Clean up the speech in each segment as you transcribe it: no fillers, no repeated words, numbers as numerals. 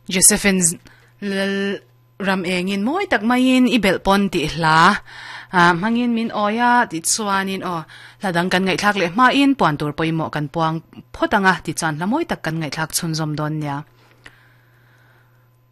Josephine Lal ram engin mawi tak maiin i belh pawn tih hla hmangin min awi a tih chuanin aw hla dang kan ngaihthlak leh hmain puan tur pawimawh kan puang phawt ang a tichuan hla mawi tak kan ngaihthlak chhunzawm dawn nia.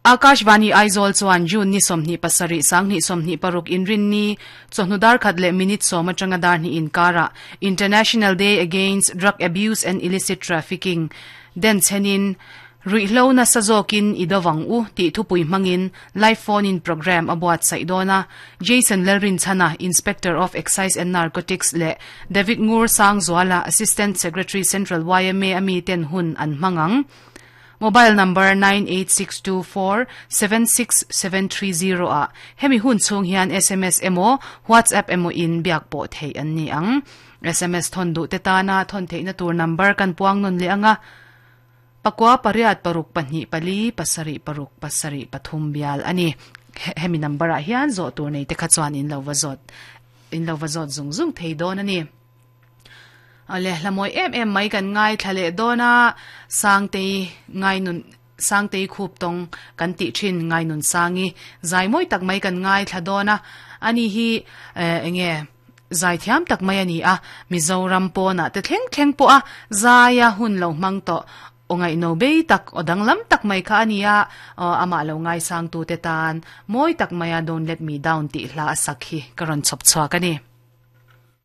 Akashvani Aizawl chuan June ni 27 2026 inrinni chawhnu dar khat leh minute sawm atanga dar hnih inkarah International Day Against Drug Abuse and Illicit Trafficking den chenin Ruihhlo nasa zawkin i dovang u tih thupui hmangin live phone-in programme a buatsaih dawn a. Jason Lalrinchhana, Inspector of Excise and Narcotics leh David Ngur Sangzuala, Assistant Secretary Central yma a miten hun an hmang ang. Mobile number 9862476730 ah hemi hun chhung hian sms emaw WhatsApp emaw in biak pawh theih an ni ang. Sms thawn duh te tana thawn theihna tur number kan puang nawn leh ang a, pakua pariat paruk pahnih pali pasarih paruk pasarih pathum bial a ni. Hemi number ah hian zawh tur nei te kha chuan in lo va zawt in lo va zawt zung zung thei dawn a ni. Awle, hla mawi em em mai kan ngaithla leh dawn a, Sangtei ngainun Sangtei khup tawng kan tih thin ngainun sangi zai mawi tak mai kan ngaithla dawn a, ani hi eh enge zai thiam tak mai a ni a, Mizoram pawnah te thleng thleng pawh a zaia hun lo hmang tawh aw ngaihno bei tak aw danglam tak mai kha a ni a, aw amah lo ngaisangtute tan mawi tak maia Don't Let Me Down tih hla a sak hi ka rawn chhawp chhuak a ni.